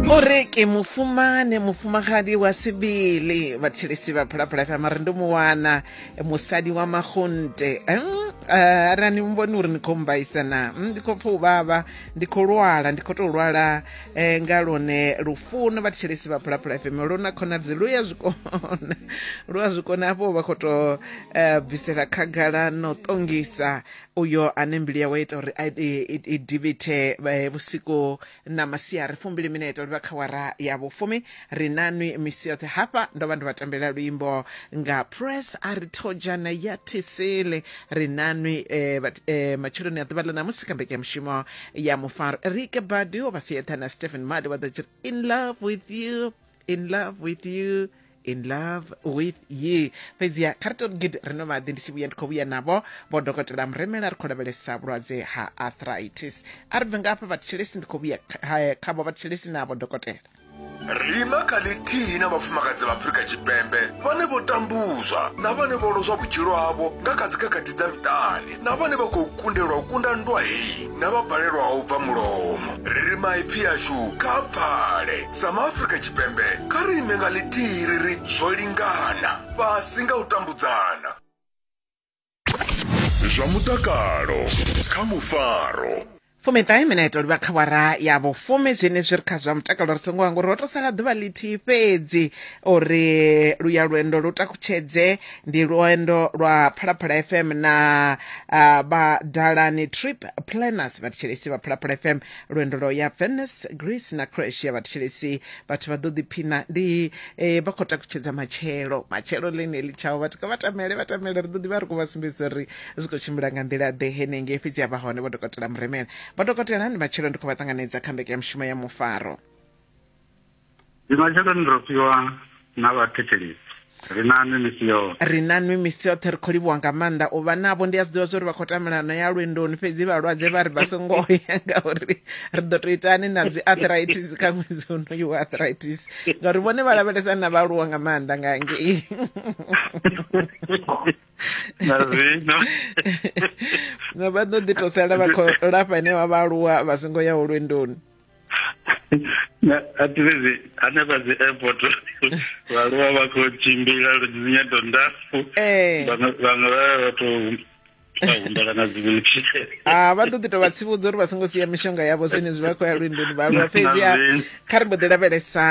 Uri ke mufumane mufumagadi wa sebele vhathetshelesi vha Phalaphala FM ri ndo mu wana musadi wa magunte. Arali ni vhoni uri ni khou mbaisa na ndi khou pfa u vhavha, ndi khou lwala, ndi khou tou lwala nga lwone lufuno. Vhathetshelesi vha Phalaphala FM lu na khonadzi lu ya zwikona, lu a zwikona hafho vha khou tou bvisela khagala no ṱongisa uyo ane mbilu yawe ita uri i divhithe vhusiku na masiari. Fumbili minete livha kha wara ya vhufumi. Ri na nwi misi yoṱhe hafha. Ndo vha ndo vha tambela luimbo nga press a ri thojana ya thisele. Ri na nwi matsheloni a ḓuvha ḽa ṋamusi kha mbekanyamushumo ya mufaro. Rike Badu vha sietha na Stephen Madi vha ḓo tshi in love with you, in love with you, in love with you. Fhedziha kha ri tou gidi ri no maḓi, ndi tshi vhuya ndi khou vhuya navho vho dokotela Muremela, ri khou lavhelesa vhulwadze ha arthritis. A ri bve nga hafha vhathetshelesi, ndi khou vhuya khavho vhathetshelesi navho dokotela. Ri ima kha ḽithihi na vhafumakadzi vha Afrika Tshipembe vhane vho tambuzwa na vhane vho lozwa vhutshilo havho nga kha dzikhakhathi dza miṱani, na vhane vha khou kundelwa u kunda nndwa heyi na vha balelwaho u bva mulomo. Ri ri maipfi ashu kha a pfale. Sa maAfrika Tshipembe, kha ri ime nga ḽithihi ri ri zwo lingana, fhasi nga u tambudzana. Zwa mutakalo kha Mufaro. Fumiṱahe minete livha kha wara ya vhufumi. Zwenezwi ri kha zwa mutakalo, ri songo hangwa uri ho to sala ḓuvha ḽithihi fhedzi uri luya lwendo lu takutshedze. Ndi lwendo lwa Phalaphala FM na vha Dalani Trip Planners, vhathetshelesi vha Phalaphala FM, lwendo lwa ya Venice, Greece na Croatia. Vhathetshelesi, vhathu vha ḓo ḓiphina ndi vha khou takutshedza matshelo, matshelo ḽeneḽi tshaho. Vhathu kha vha tamele, vha tamele, ri ḓo ḓivha ri khou vha sumbedzisa uri zwi khou tshimbila nga nḓila ḓe henengei. Fhedzi a vha hone vho dokotela Muremela. Vho dokotela, ndi matshelo, ndi khou vha ṱanganedza kha mbekanyamushumo ya Mufaro. Ndi matsheloni ro fhiwa na vhathetshelesi. Ri na nwi misi yoṱhe. Ri na nwi misi yoṱhe. Ri khou livhuwa nga maanḓa u vha navho. Ndi a zwi ḓivha zwa uri vha khou tamelano ya lwendoni, fhedzi vhalwadze vha ri vha songo ya ngauri ri ḓo tou itani na dzi arthritis kha ṅwedzi unoyu wa arthritis, ngauri vhone vha lavhelesa na vhaaluwa nga maanḓa nga ngei. Na zwino Na vha ḓo ḓi tou sala vha khou lafha henevha vhaaluwa vha songo yaho lwendoni. A thi fhedzi hanefha dzi airport vhaaluwa vha khou tshimbila dzinyendo ndapfu, vhaṅwe vhaṅwe vha vha tou vha humbela na dzi wheelchair. A vha ḓo ḓi tou vha tsivhudza uri vha songo sia mishonga yavho zwenezwi vha khou ya lwendoni vhaaluwa. Fhedzi kha ri mbo ḓi lavhelesa